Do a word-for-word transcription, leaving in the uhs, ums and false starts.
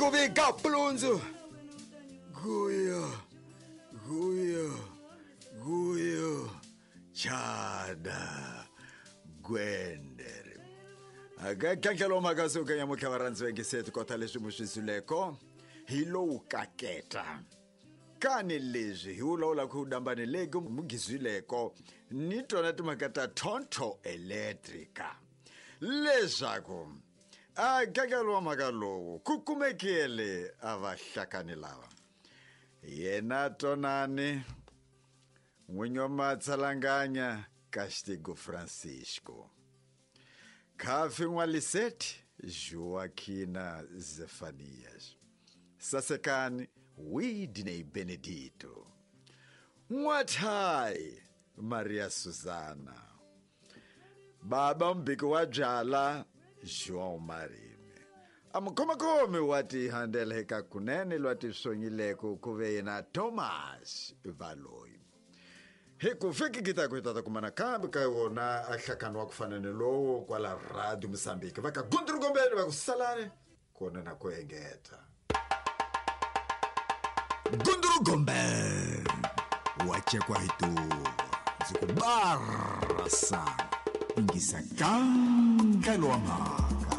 Ku vika pulundzu guyo guyo guyo chada gwendere akakantlhelo mhaka ya mukha varhandzi vengisetu kota leswi mu swisuleko hi lowu kaketa kani leswi hi wulawula ku dambani leki mugizwileko ni tona timhaka ta Tonto Electrica leswaku a kakelo wa mhaka lowu ku kumekele a vahlakani lava yena tonani n'winyi wa matsalanganya Castigo Francisco Khafi N'waliseti Joaquina Zefanias Sasekani Widney Benedito N'wathai Maria Susana Baba Mbiki wa byala João Marime Amukhomakhomi wa tihandeleka kunene lwa tiswonyileko ku ve yena Thomas Valoyi hi ku fiki kita ku tata kumana kambe ka wona a hlakano wa ku fana ni lowo kwala Radio Mozambique va ka Gunduru va ku salani kona na ku engeta Gunduru Gombe wa chekwa hi tuva ndzi ku barasa ingisa kankelo wa mhaka.